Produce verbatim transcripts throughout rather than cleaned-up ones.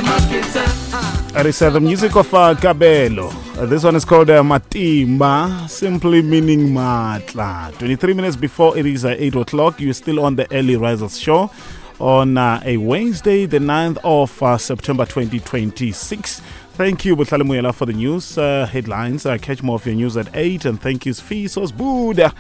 That is uh, the music of uh, Kabelo. Uh, this one is called uh, Matimba, simply meaning Matla. twenty-three minutes before it is uh, eight o'clock, you're still on the Early Risers Show on uh, a Wednesday, the ninth of uh, September twenty twenty-six. Thank you, Botlhale Moela, for the news uh, headlines. Uh, catch more of your news at eight. And thank you, Fisos Buddha,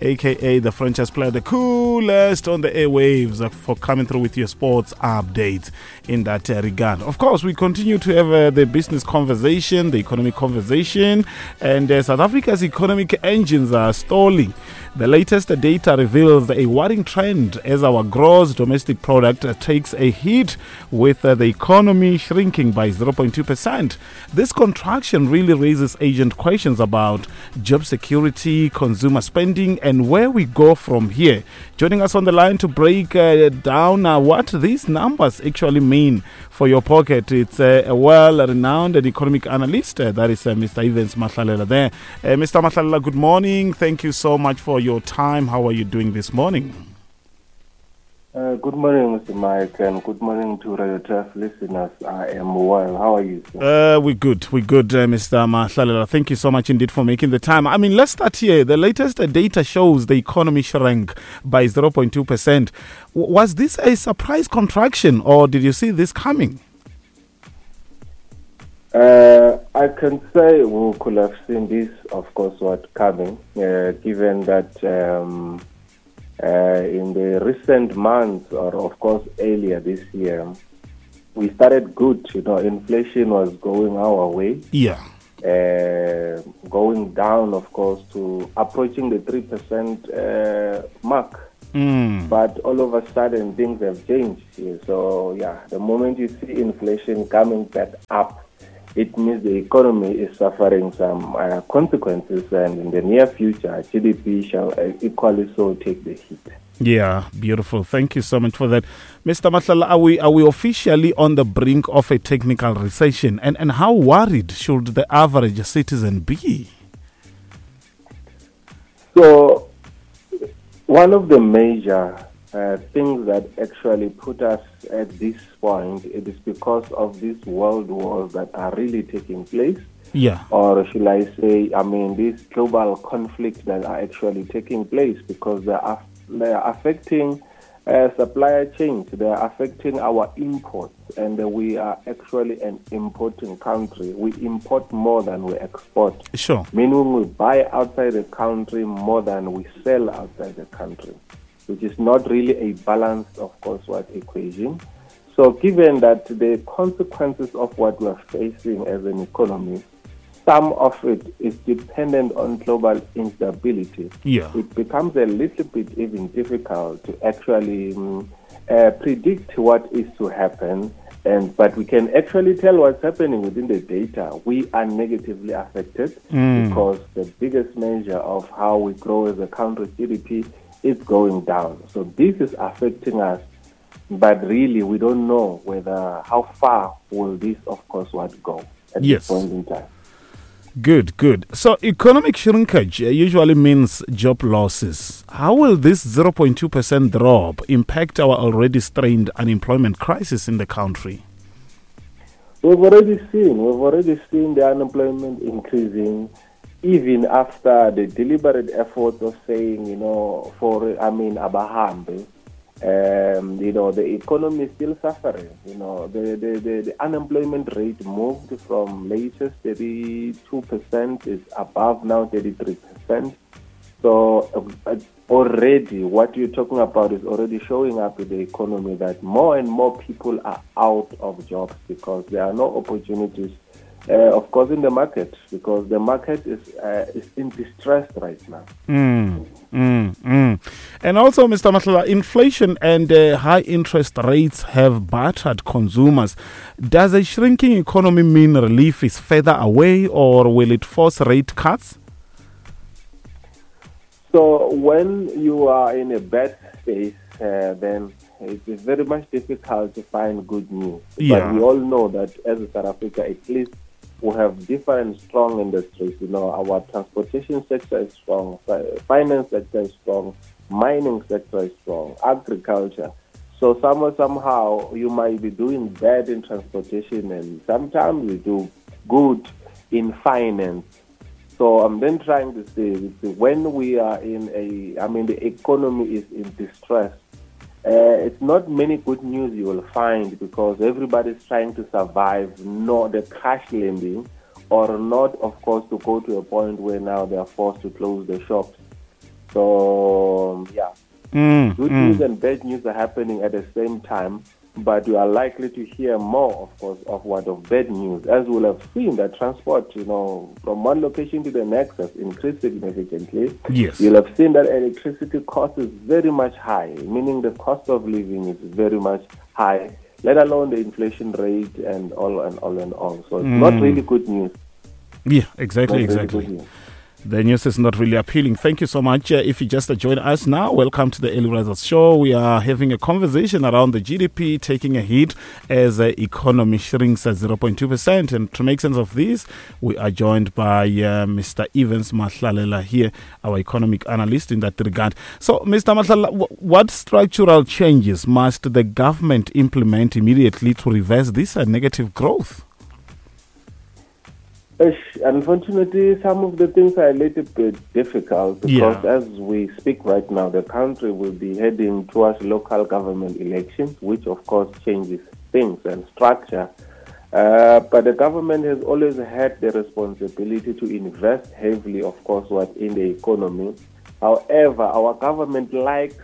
A K A the franchise player, the coolest on the airwaves, uh, for coming through with your sports updates in that, uh, regard. Of course, we continue to have, uh, the business conversation, the economic conversation, and, uh, South Africa's economic engines are stalling. The latest data reveals a worrying trend as our gross domestic product, uh, takes a hit, with, uh, the economy shrinking by zero point two percent. This contraction really raises urgent questions about job security, consumer spending, and where we go from here. Joining us on the line to break, uh, down, uh, what these numbers actually mean for your pocket, it's, uh, a well-renowned and economic analyst, uh, that is, uh, Mister Evans Mahlalela there. Uh, Mister Mahlalela, good morning. Thank you so much for your time. How are you doing this morning? Uh, good morning, Mister Mike, and good morning to Radio Turf listeners. I am well. How are you, sir? Uh, we're good. We're good, uh, Mister Mahlalela. Thank you so much indeed for making the time. I mean, let's start here. The latest, uh, data shows the economy shrank by zero point two percent. W- was this a surprise contraction, or did you see this coming? Uh, I can say we could have seen this, of course, what coming, uh, given that... Um, Uh, in the recent months, or of course earlier this year, we started good. You know, inflation was going our way. Yeah. Uh, going down, of course, to approaching the three percent, uh, mark. Mm. But all of a sudden, things have changed. So, yeah, the moment you see inflation coming back up, it means the economy is suffering some, uh, consequences, and in the near future, G D P shall, uh, equally so take the hit. Yeah, beautiful. Thank you so much for that. Mister Mahlalela, are we, are we officially on the brink of a technical recession? And, and how worried should the average citizen be? So, one of the major, uh, things that actually put us at this point, it is because of these world wars that are really taking place. Yeah. Or should I say, I mean, these global conflicts that are actually taking place, because they are, they are affecting, uh, supplier chains, they are affecting our imports, and we are actually an importing country. We import more than we export. Sure. Meaning we buy outside the country more than we sell outside the country, which is not really a balanced, of course, what equation. So given that the consequences of what we are facing as an economy, some of it is dependent on global instability. Yeah. It becomes a little bit even difficult to actually, um, uh, predict what is to happen. And but we can actually tell what's happening within the data. We are negatively affected Mm. because the biggest measure of how we grow as a country, G D P, is going down. So this is affecting us, but really we don't know whether how far will this, of course, what go at this Yes. point in time. Good, good. So economic shrinkage, uh, usually means job losses. How will this zero point two percent drop impact our already strained unemployment crisis in the country? We've already seen, we've already seen the unemployment increasing, even after the deliberate efforts of saying, you know, for, I mean, abahambe, um, you know, the economy is still suffering. You know, the, the, the, the unemployment rate moved from latest thirty-two percent is above now thirty-three percent. So, uh, already what you're talking about is already showing up in the economy, that more and more people are out of jobs because there are no opportunities, uh, of course, in the market, because the market is, uh, is in distress right now. Mm, mm, mm. And also, Mister Mahlalela, inflation and, uh, high interest rates have battered consumers. Does a shrinking economy mean relief is further away, or will it force rate cuts? So when you are in a bad space, uh, then it is very much difficult to find good news. But Yeah. we all know that as South Africa, at least we have different strong industries. You know, our transportation sector is strong, fi-, finance sector is strong, mining sector is strong, agriculture. So somewhere, somehow, you might be doing bad in transportation, and sometimes you do good in finance. So I'm then trying to say, when we are in a, I mean, the economy is in distress, uh, it's not many good news you will find, because everybody's trying to survive, not the crash landing, or not, of course, to go to a point where now they are forced to close the shops. So, yeah. Mm, Good mm. news and bad news are happening at the same time, but you are likely to hear more, of course, of what of bad news, as we'll have seen that transport, you know, from one location to the next has increased significantly. Yes. You'll have seen that electricity cost is very much high, meaning the cost of living is very much high, let alone the inflation rate and all and all and all. So it's Mm. not really good news. Yeah, exactly, Not really exactly. good news. The news is not really appealing. Thank you so much. Uh, if you just join us now, welcome to the Early Risers Show. We are having a conversation around the G D P taking a hit as the economy shrinks at zero point two percent. And to make sense of this, we are joined by, uh, Mister Evans Mahlalela here, our economic analyst in that regard. So, Mister Mahlalela, wh-, what structural changes must the government implement immediately to reverse this, uh, negative growth? Unfortunately, some of the things are a little bit difficult because Yeah. as we speak right now, the country will be heading towards local government elections, which of course changes things and structure. Uh, but the government has always had the responsibility to invest heavily, of course, what in the economy. However, our government likes,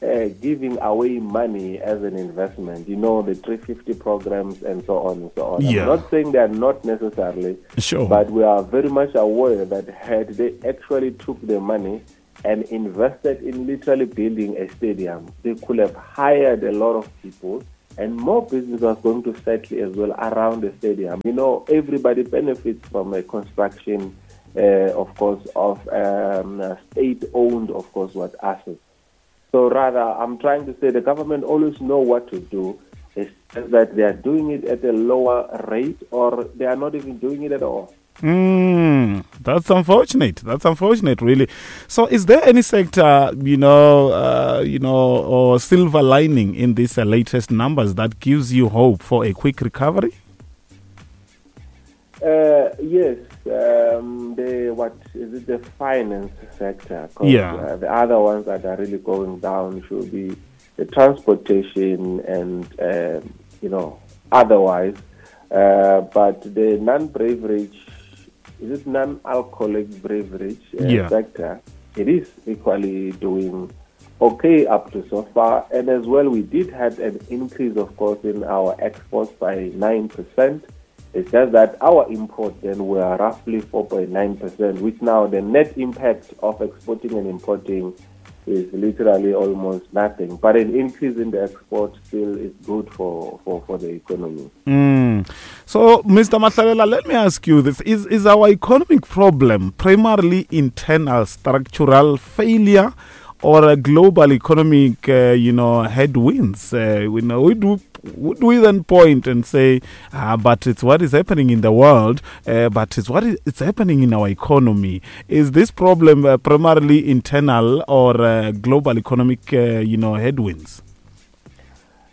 uh, giving away money as an investment, you know, the three fifty programs and so on and so on. I'm Yeah. not saying they are not necessarily, Sure. but we are very much aware that had they actually took the money and invested in literally building a stadium, they could have hired a lot of people and more business was going to settle as well around the stadium. You know, everybody benefits from a construction, uh, of course, of, um, state-owned, of course, what assets. So rather, I'm trying to say the government always know what to do. It's just that they are doing it at a lower rate or they are not even doing it at all. Mm, that's unfortunate. That's unfortunate, really. So is there any sector, you know, uh, you know, or silver lining in these, uh, latest numbers that gives you hope for a quick recovery? Uh, yes. Um, the what is it? The finance sector. 'Cause, Yeah. uh, the other ones that are really going down should be the transportation and, um, you know, otherwise. Uh, but the non-beverage, is it non-alcoholic beverage, uh, Yeah. sector? It is equally doing okay up to so far. And as well, we did have an increase, of course, in our exports by nine percent. It's just that our import then were roughly four point nine percent, which now the net impact of exporting and importing is literally almost nothing. But an increase in the export still is good for, for, for the economy. Mm. So, Mister Mahlalela, let me ask you this. Is, is our economic problem primarily internal structural failure or a global economic, uh, you know, headwinds? Uh, we know we do. Would we then point and say, ah, but it's what is happening in the world, uh, but it's what is it's happening in our economy? Is this problem, uh, primarily internal or, uh, global economic, uh, you know, headwinds?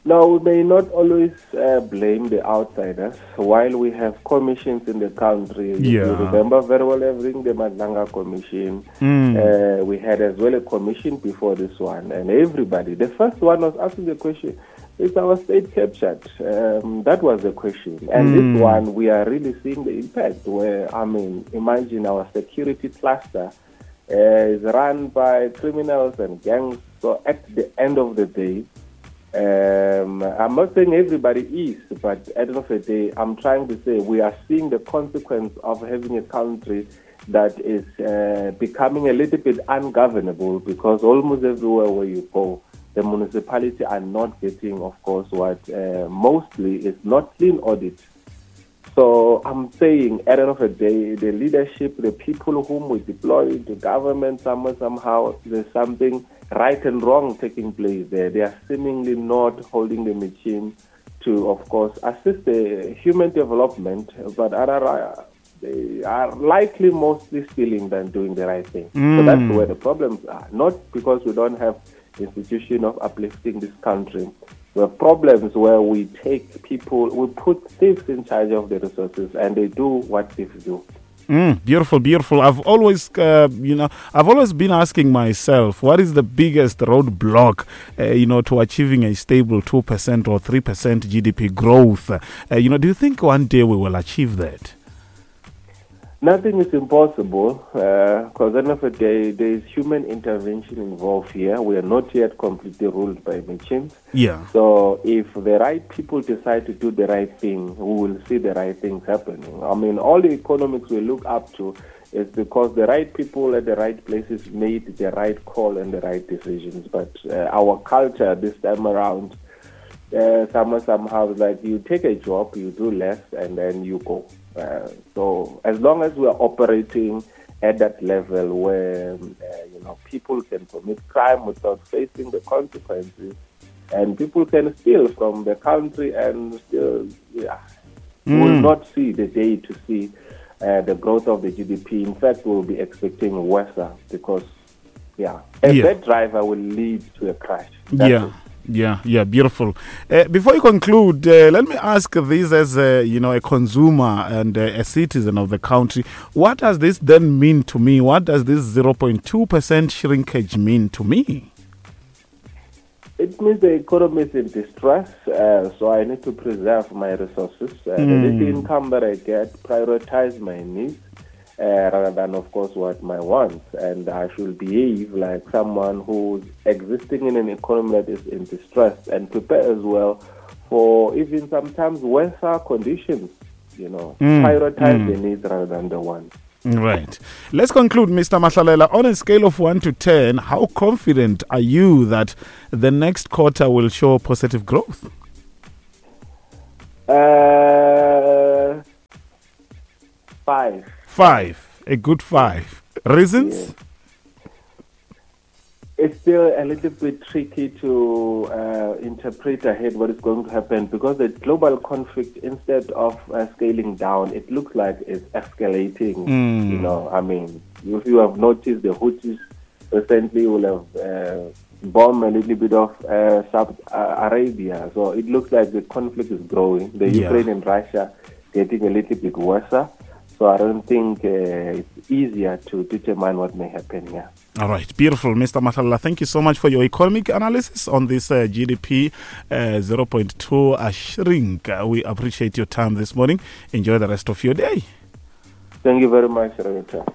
No, we may not always, uh, blame the outsiders. While we have commissions in the country, you Yeah. remember very well everything, the Madlanga Commission. Mm. Uh, we had as well a commission before this one, and everybody. The first one was asking the question, is our state captured? Um, that was the question. And this Mm. one, we are really seeing the impact where, I mean, imagine our security cluster, uh, is run by criminals and gangs. So at the end of the day, Um, I'm not saying everybody is, but at the end of the day, I'm trying to say we are seeing the consequence of having a country that is, uh, becoming a little bit ungovernable, because almost everywhere where you go, the municipality are not getting, of course, what, uh, mostly is not clean audit. So I'm saying, at the end of the day, the leadership, the people whom we deploy, the government, somewhere, somehow, there's something right and wrong taking place there. They are seemingly not holding the machine to, of course, assist the human development, but other, they are likely mostly stealing than doing the right thing. So that's Mm. where the problems are. Not because we don't have institution of uplifting this country. We have problems where we take people, we put thieves in charge of the resources, and they do what thieves do. Mm, beautiful, beautiful. I've always, uh, you know, I've always been asking myself, what is the biggest roadblock, uh, you know, to achieving a stable two percent or three percent G D P growth? Uh, you know, do you think one day we will achieve that? Nothing is impossible, because uh, at the end of the day, there is human intervention involved here. We are not yet completely ruled by machines. Yeah. So if the right people decide to do the right thing, we will see the right things happening. I mean, all the economics we look up to is because the right people at the right places made the right call and the right decisions. But uh, our culture this time around, uh, somehow, somehow, like you take a job, you do less, and then you go. Uh, so as long as we are operating at that level where uh, you know, people can commit crime without facing the consequences, and people can steal from the country and still, yeah, mm. we will not see the day to see uh, the growth of the G D P. In fact, we'll be expecting worse because, yeah, a yeah. bad driver will lead to a crash. That's yeah. It. Yeah, yeah, beautiful. Uh, before you conclude, uh, let me ask this as a, you know, a consumer and a, a citizen of the country. What does this then mean to me? What does this zero point two percent shrinkage mean to me? It means the economy is in distress, uh, so I need to preserve my resources. Uh, mm. The little income that I get, prioritize my needs. Uh, rather than, of course, what my wants. And I should behave like someone who's existing in an economy that is in distress and prepare as well for even sometimes worse conditions, you know, mm. prioritize mm. the needs rather than the wants. Right. Let's conclude, Mister Mahlalela. On a scale of one to ten, how confident are you that the next quarter will show positive growth? Uh, five. Five, a good five. Reasons? Yeah. It's still a little bit tricky to uh, interpret ahead what is going to happen because the global conflict, instead of uh, scaling down, it looks like it's escalating. Mm. You know, I mean, if you have noticed, the Houthis recently will have uh, bombed a little bit of uh, Saudi Arabia. So it looks like the conflict is growing. The yeah. Ukraine and Russia getting a little bit worse. So I don't think uh, it's easier to determine what may happen here. All right. Beautiful, Mister Mahlalela. Thank you so much for your economic analysis on this uh, G D P uh, zero point two uh, shrink. Uh, we appreciate your time this morning. Enjoy the rest of your day. Thank you very much, Renata.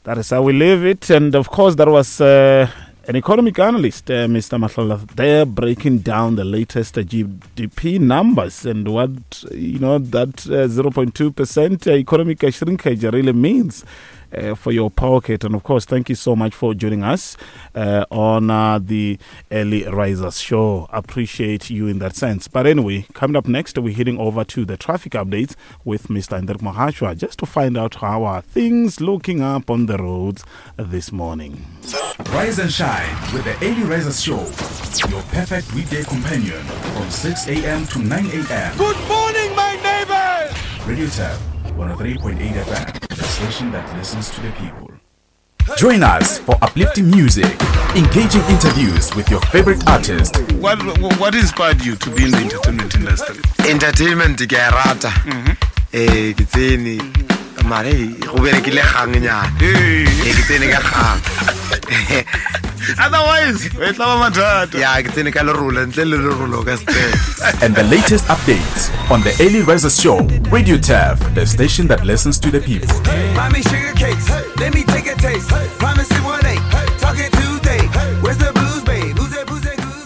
That is how we leave it. And of course, that was uh, an economic analyst, uh, Mister Mahlalela, there breaking down the latest uh, G D P numbers and what, you know, that uh, zero point two percent economic shrinkage really means uh, for your pocket. And of course, thank you so much for joining us uh, on uh, the Early Risers Show. Appreciate you in that sense. But anyway, coming up next, we're heading over to the traffic updates with Mister Hendrik Mohashwa, just to find out how are things looking up on the roads this morning. Rise and shine with the Early Risers Show, your perfect weekday companion from six a.m. to nine a.m. Good morning, my neighbors! Radio Turf, one oh three point eight F M, the station that listens to the people. Join us for uplifting music, engaging interviews with your favorite artist. What, what inspired you to be in the entertainment industry? Entertainment, ke a rata. Eh, ke tsene mare go berekile gang nyana. Eh, ke tsene ka gang. Otherwise, e tla ba mathata. Yeah, ke tsene ka lerolo, ntle le lerolo ka step. And the latest updates on the Early Risers Show, Radio Turf, the station that listens to the people. Buy me sugar cakes, let me take a taste. Promise it one eight, talking Tuesday. Where's the booze, babe? Booze, booze, booze.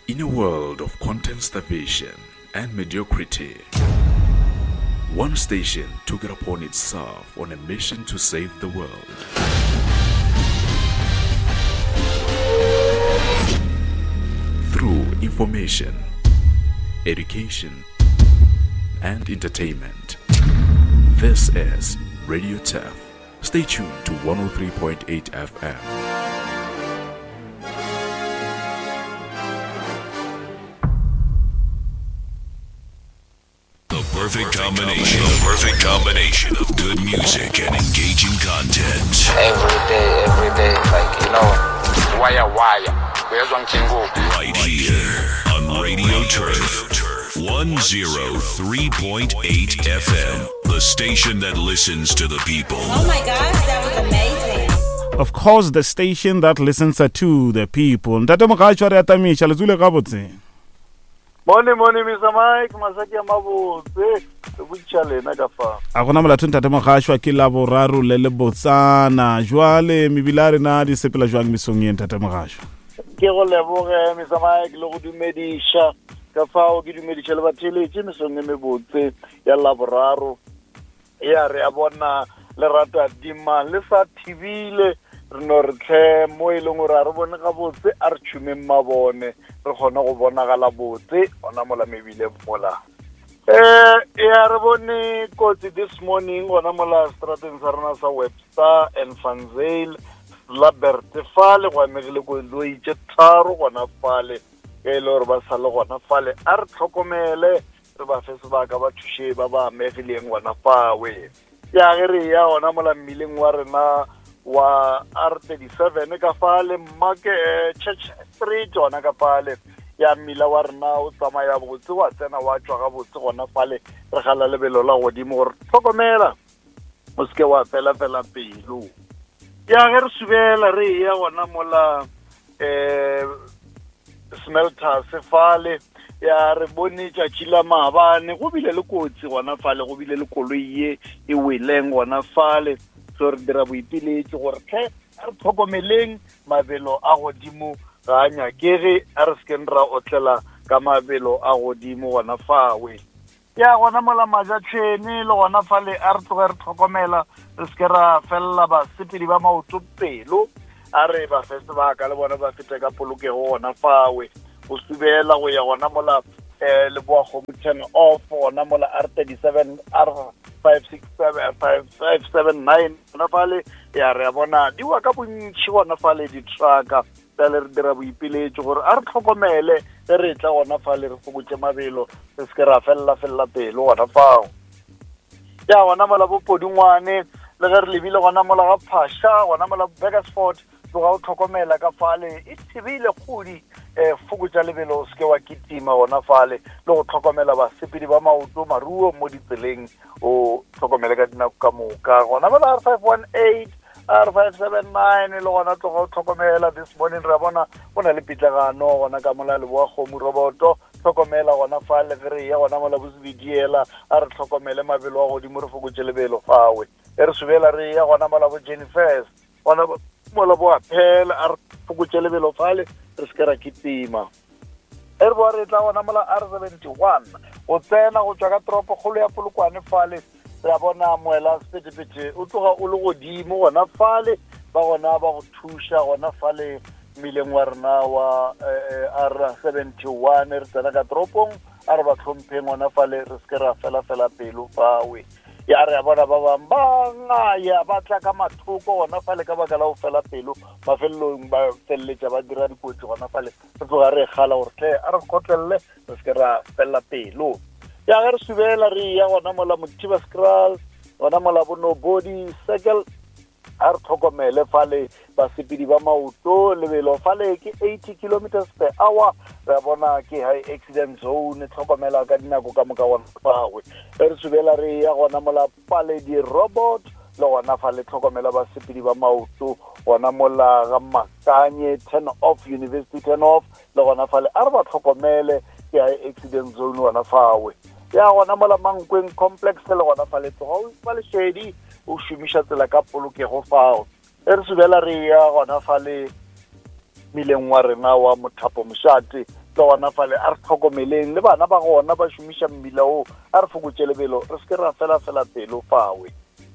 In a world of content starvation and mediocrity, one station took it upon itself on a mission to save the world. Through information, education, and entertainment. This is Radio Turf. Stay tuned to one oh three point eight F M. The The perfect combination. The perfect combination of good music and engaging content. Every day, every day, like, you know, wire, wire. Right here on Radio Turf, one oh three point eight F M, the station that listens to the people. Oh my gosh, that was amazing. Of course, the station that listens to the people. Ntate Mogashoa re atamisha le tsule gabotse. Morning, morning, Mister Mike, masaki a mabotse, re botša lena ka fa. A gona molato ntate Mogashoa ke la boraro le le botsana. Jwale mebila rena di sepela jwang mesong ye ntate Mogashoa? Ke go leboge Mister Mike le go dumediša ka fao ke dumediša le batheletše mesong e mebotse ya laboraro. Ya re a bona lerata dima le sa thibile re no re tlhe mo e leng gore a re bone gabotse a re tšhumeng mabone re kgone go bonagala botse gona mola mebile mola. Eh ya re bone kotsi this morning gona mola strateng sa rena sa Webster and Van Zyl Labert fale go amegile koloi tše tharo gona fale ge e le gore ba sa le gona fale a re tlhokomele re ba fe sebaka ba thuše ba ba amegileng gona fawe. Ya ge re ya gona mola mmileng wa rena wa R thirty-seven ka fale Market Church Street gona ka fale ya mmila wa rena o tsamaya botse wa tsena wa tšwa gabotse gona fale re gala lebelo la godimo gore tlhokomela o seke wa fela fela pelo. Ya ge re subela re ya gona mola eh smelters fale ya re bone tšatši la maabane go bile le kotsi gona fale go bile le koloi ye e weleng gona fale so re dira boipiletšo gore tlhe a re tlhokomeleng mabelo a godimo ga a nyakege a re sekeng ra otlela ka mabelo a godimo gona fawe. Ya gona mola Majatšhene le gona fale a re tloge re tlhokomela re seke ra felela basepedi ba maoto pelo a re ba fe sebaka le bona ba fete ka polokego gona fawe. Go subela go ya gona mola eh Leboa Kgomo turn off gona mola R thirty-seven R five six seven five five seven nine gona fale ya re a bona di wa ka bontši gona fale di-trucka bjale re dira boipiletšo gore a re tlhokomele ge re tla gona fale re fokotše mabelo re seke ra felela felela pelo gona fao. Ya gona mola bo Podingwane le ge re lebile gona mola ga Phasha gona mola Burgersfort tloga o tlhokomela ka fale e thibile kgodi eh fokotša lebelo o seke wa kitima gona fale le go tlhokomela basepedi ba maoto maruo mo ditseleng o tlhokomele ka dinako ka moka gona mola R five one eight R five seven nine le gona tloga o tlhokomela. This morning re bona go na le pitlagano gona ka mola Leboa Kgomo roboto tlhokomela gona fale ge re ya gona mola bosebediela a re tlhokomele mabelo a godimo re fokotše lebelo fawe. E re subela re ya gona mola bo Jennifer's gona mola bo Appel a re fokotše lebelo fale re seke ra kitima. E re boa re tla gona mola R seventy-one go tsena go tšwa ka toropokgolo ya Polokwane fale re a bona moela sephethephethe o tloga o le godimo gona fale ba gona ba go thuša gona fale mmileng wa rena wa R seventy-one re tsena ka toropong a re ba tlhompheng gona fale re seke ra fela fela pelo fawe. Ya re a bona ba bang ba ngaya ba tla ka mathoko gona fale ka baka la go fela pelo mafelelong ba feleletša ba dira dikotsi gona fale re tloga re kgala gore tle a re kgotlelele re seke ra fela pelo. Ya ge re subela re ya gona mola Mothiba Skral gona mola bo Nobody Circle a re tlhokomele fale basepedi ba maoto lebelo fale ke eighty kilometers per hour re bona ke high accident zone tlhokomela ka dinako ka moka gona fawe. Re subela re ya gona mola Paledi Robot le gona fale tlhokomela basepedi ba maoto gona mola ga Makanye turn off University turn off le gona fale a re ba tlhokomele ke high accident zone gona fawe. Ya gona mola Mankweng complex le gona fale tloga o fa lešedi o šomiša tsela ka polokego fao. E re subela re ya gona fale mmileng wa rena wa Mothapo Mošate le gona fale a re tlhokomeleng le bana ba gona ba šomiša mmila o a re fokotše lebelo re seke ra fela fela pelo fawe.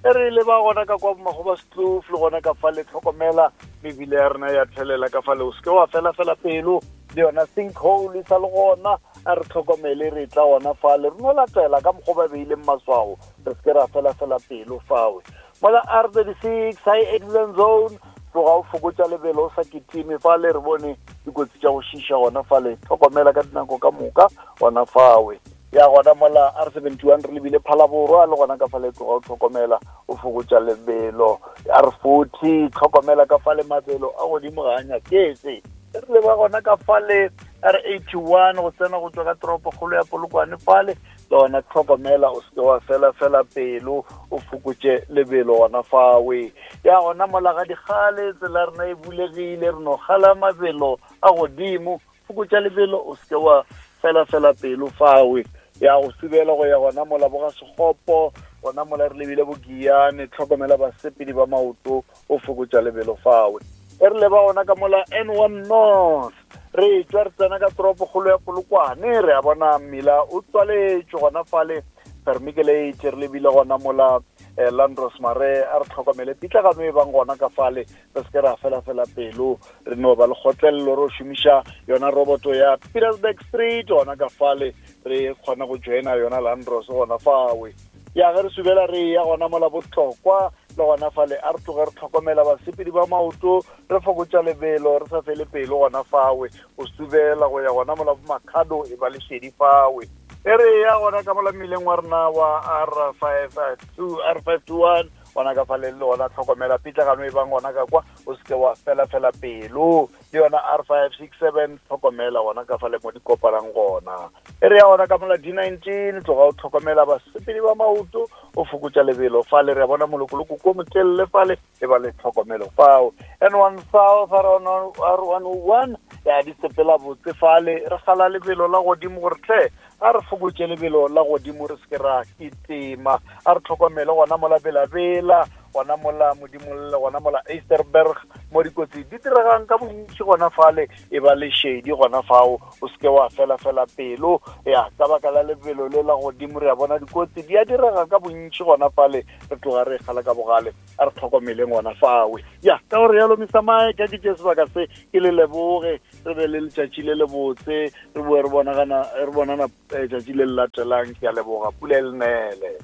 E re le ba gona ka kwa Magoba Kloof le gona ka fale tlhokomela mebile ya rena ya thelela ka fale o seke wa fela fela pelo le yona sinkhole e sa le gona a re tlhokomele re tla gona fale re no latela ka mokgwa ba beileng maswao re seke ra fela fela pelo fawe. Mola R thirty-six high accident zone tloga o fokotša lebelo o sa kitime fale re bone dikotsi tša go šiša gona fale tlhokomela ka dinako ka moka gona fawe. Ya gona mola R seventy-one re lebile Phalaborwa le gona ka fale tloga o tlhokomela o fokotša lebelo. R forty tlhokomela ka fale mabelo a godimo ga a nyaketse. Re leba gona ka fale R eighty-one go tsena go tswa ka toropokgolo ya Polokwane fale le gona tlhokomela o seke wa fela fela pelo o fokotše lebelo gona fawe. Ya gona mola ga dikgale tsela rena e bulegile re no gala mabelo a godimo, fokotša lebelo o seke wa fela fela pelo fawe. Ya go subela go ya gona mola bo ga Sekgopo gona mola re lebile Bogiane, tlhokomela basepedi ba maoto o fokotša lebelo fawe. E re leba gona ka mola N one North re tswa re tsena ka toropokgolo ya Polokwane, re a bona mmila o tswaletšwe gona fale Vermiculate, re lebile gona mola eh, Landros Mare a re tlhokomele pitlagano e bang gona ka fale re se ke ra fela fela pelo, re no ba le kgotlelelo re šomiša yona roboto ya Petersburg Street gona ka fale re kgona go joina yona Landros gona fawe. Ya ge re subela re ya gona mola Botlokwa le gona fale a re tloge re tlhokomela basepedi ba maoto re fokotša lebelo re sa fele pelo gona fawe, o subela go ya gona mola bo Makhado e ba lešedi fawe. E re ya gona ka mola mmileng wa rena wa R five two R five two one gona ka fale le gona tlhokomela pitlagano e bang gona ka kwa o seke wa fela fela pelo, le yona R five six seven tlhokomela gona ka fale mo di kopanang gona. E re ya gona ka mola D nineteen tloga o tlhokomela basepedi ba maoto o fokotša lebelo fale, re a bona molokoloko ko motelele fale e ba le tlhokomelo fao. N one South R one oh one ya di sepela botse fale re gala lebelo la godimo gore tle a re fokotše lebelo la godimo re se ke ra kitema, a re tlhokomele gona mola Belabela gona mola Modimolle gona mola Easterberg mo dikotsi di diregang ka bontši gona fale e ba le shedi gona fao o seke wa fela fela pelo. Ya ka baka la lebelo le la godimo re a bona dikotsi di a direga ka bontši gona fale re tloga re gala ka bogale, a re tlhokomeleng gona fawe. Ya ka gore yalo Mister Mike ke tše sebaka se ke le leboge, re be le letšatši le lebotse, re boe re bonagana re bonana tšatši le le latelang. Ke a leboga, pula e le nele.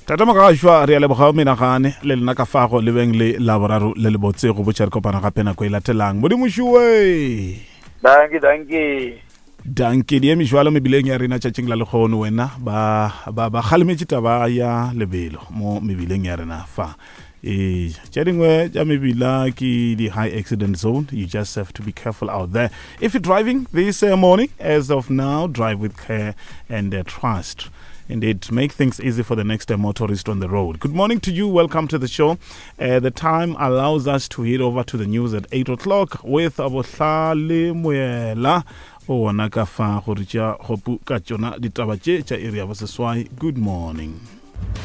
Tata Mogashwa re a leboga o menagane le lena ka fago le beng le laboraro le lebotse go botša re kopana gape nako e latelang. Modimo šuwe. Dankie, dankie. Dankie di eme jwalo mebileng ya rena tšatšing la lekgono wena ba ba ba kgalemetše taba ya lebelo mo mebileng ya rena fa. E tše dingwe tša mebila ke di high accident zone. You just have to be careful out there. If you're driving this uh, morning, as of now, drive with care and uh, trust. Indeed, make things easy for the next uh, motorist on the road. Good morning to you. Welcome to the show. Uh, the time allows us to head over to the news at eight o'clock with Abohlale Moela. O ona ka fa go re tša gopu ka tšona ditaba tše tša iri ya boseswai. Good morning.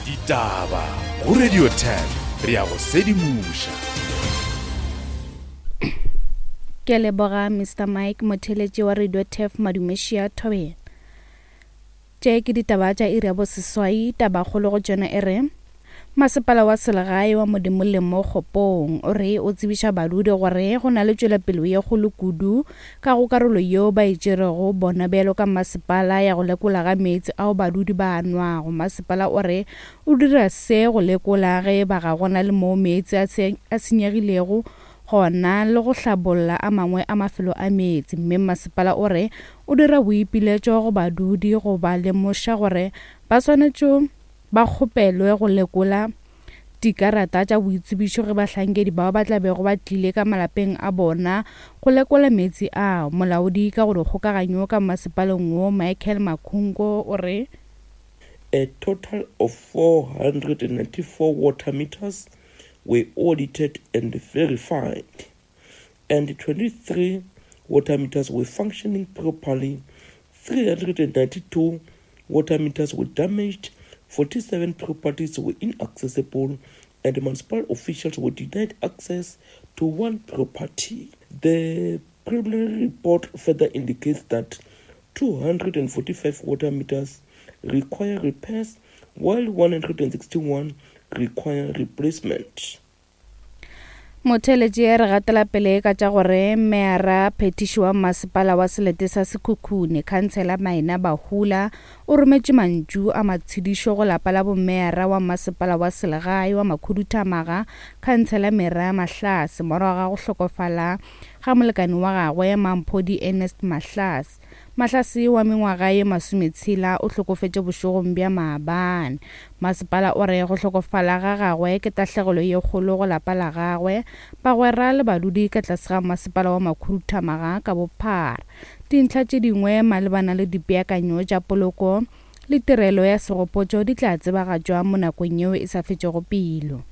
Ditaba go Radio ten re ya go sedimoša. Ke leboga Mister Mike motheletši wa Radio Turf Madumešia Thobela. Tše ke ditaba tša iri ya boseswai. Tabakgolo go tšona e re masepala wa selegae wa Modimolle mo Kgopong o re o tsebiša badudi gore go na le tšwelopele ye kgolo kudu ka go karolo yeo ba e tšerego bona bjalo ka masepala ya go lekola ga meetse ao badudi ba a nwago. Masepala o re o dira se go lekola ge ba ga gona le moo meetse a senyegilego gona le go hlabolla a mangwe a mafelo a meetse, mme masepala o re o dira boipiletšo go badudi go ba lemoša gore ba swanetše ba kgopelwe go lekola dikarata tša boitsebišo ge bahlankedi bao ba tla bego ba tlile ka malapeng a bona go lekola meetse ao. Molaodi ka go dikgokaganyo ka masepaleng wo Michael Makhungo o re a total of four hundred ninety-four water meters were audited and verified, and twenty-three water meters were functioning properly, three hundred ninety-two water meters were damaged, forty-seven properties were inaccessible, and municipal officials were denied access to one property. The preliminary report further indicates that two hundred forty-five water meters require repairs, while one hundred sixty-one require replacement. Motheletši re gatela pele ka tša gore meara phetiši wa masepala wa selete sa Sekhukhune khansela Maina Bahula o rometše mantšu a matshedišo go lapa la bomeara wa masepala wa selegae wa Makhuduthamaga khansela Mera Mahlase morago ga go hlokofala ga molekane wa gagwe Mamphodi Ernest Mahlase. Mahlase wa mengwaga ye masometshela o hlokofetše bošegong bja maabane. Masepala o re go hlokofala ga gagwe ke tahlegelo ye kgolo go lapa la gagwe, bagwera le badudi ka tlase ga masepala wa Makhuduthamaga ka bophara. Dintlha tše dingwe malebana le dipeakanyo tša poloko le tirelo ya segopotšo di tla tsebagatšwa mo nakong yeo e sa fetšego pelo.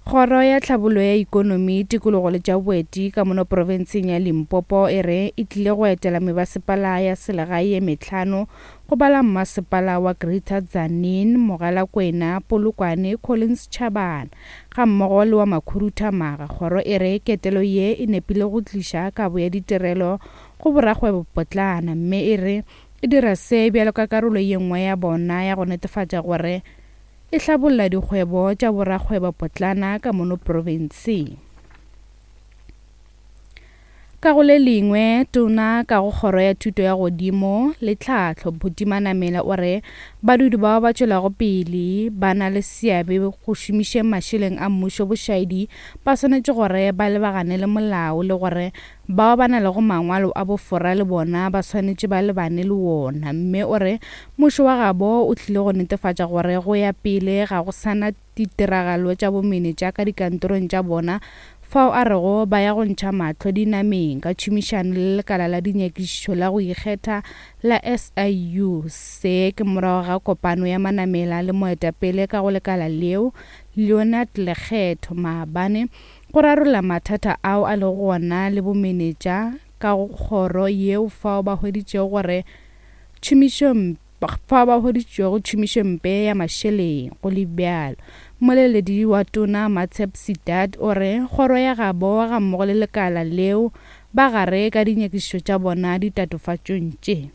Kgoro ya tlhabollo ya ikonomi, tikologo le tša boeti ka mono profenseng ya Limpopo e re e tlile go etela mebasepala ya selegae ye mehlano go bala mmasepala wa Greater Tzaneen, Mogalakwena, Polokwane, Collins Chabane ga mmogo le wa Makhuduthamaga. Kgoro e re ketelo ye e nepile go tliša kabo ya ditirelo go borakgwebopotlana, mme e re e dira se bjalo ka karolo ye nngwe ya bona ya go netefatša gore e hlabolla dikgwebo tša borakgwebopotlana ka mono profenseng. Ka go le lengwe, tona ka go kgoro ya thuto ya godimo le tlhahlo Buti Manamela o re badudi bao ba tšwelago pele ba na le seabe go šomišeng mašeleng a mmušo bošaedi ba swanetše gore ba lebagane le molao le gore bao ba na lego mangwalo a bofora le bona ba swanetše ba lebane le wona, mme o re mmušo wa gabo o tlile go netefatša gore go ya pele ga go sana ditiragalo tša bomenetša ka dikantorong tša bona fao a rego ba ya go ntšha mahlo dinameng ka tšhomišano le lekala la dinyakišišo la go ikgetha la S I U. Se ke morago ga kopano ya Manamela le moetapele ka go lekala leo Leonard Lekgetho maabane go rarolla mathata ao a lego gona le bomenetša ka go kgoro yeo fao ba hweditšego gore tšhomišo fao ba hweditšego tšhomišompe ya mašeleng. Go le bjalo, mmoleledi wa tona Matshep Sidat o re kgoro ya gabo ga mmogo le lekala leo ba gare ka dinyakišišo tša bona ditatofatšong tše.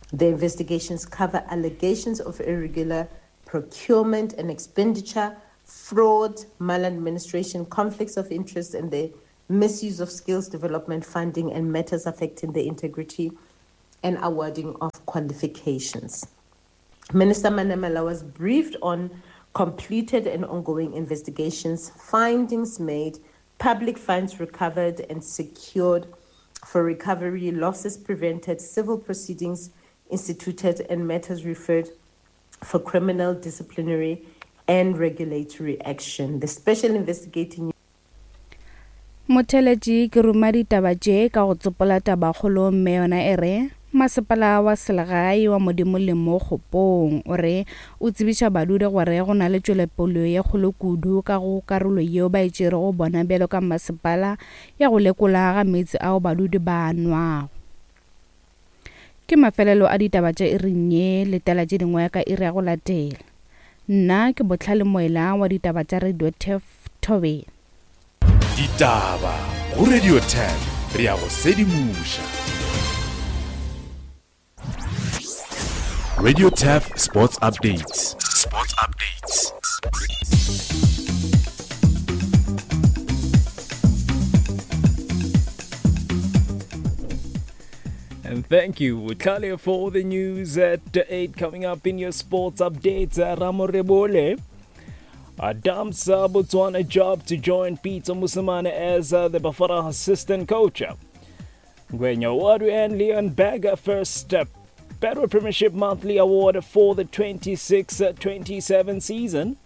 The investigations cover allegations of irregular procurement and expenditure, fraud, maladministration, conflicts of interest, and the misuse of skills development funding and matters affecting the integrity and awarding of qualifications. Minister Manamela was briefed on completed and ongoing investigations, findings made, public funds recovered and secured for recovery, losses prevented, civil proceedings instituted, and matters referred for criminal, disciplinary, and regulatory action. The special investigating Motheletši ke ruma ditaba tše ka go tsopola tabakgolo mme yona e re masepala wa selegae wa Modimo le mo Kgopong o re o tsebiša badudi gore go na le tšwelepele ye kgolo kudu ka go karolo yeo ba e tšerego bona bjalo ka masepala ya go lekola ga meetse ao badudi ba nwago. Ke mafelelo a ditaba tša iring ye, letela tše dingwe ka iri ya go latela. Nna ke Botlhale Moela wa ditaba tša Radio Turf Thobela. Ditaba go Radio Turf, re ya go sedimoša. Radio Turf Sports Updates. Sports Updates. And thank you, Botlhale, for the news at eight. Coming up in your sports updates, Ramorebole dumps Botswana job to join Peter Mosimane as uh, the Bafana assistant coach. Ngwenya Wadu and Leon Berger first uh, Betway Premiership Monthly Award for the twenty-six twenty-seven season.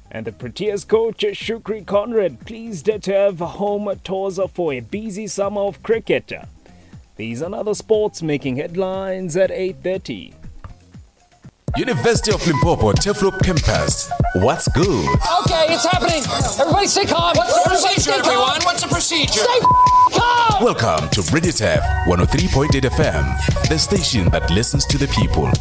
And the Proteas coach Shukri Conrad pleased to have home tours for a busy summer of cricket. These and other sports making headlines at eight thirty. University of Limpopo, Turfloop Campus. What's good? Okay, it's happening. Everybody stay calm. What's the procedure, Everybody stay calm. everyone? What's the procedure? Stay calm. Welcome to Radio Turf one oh three point eight F M, the station that listens to the people.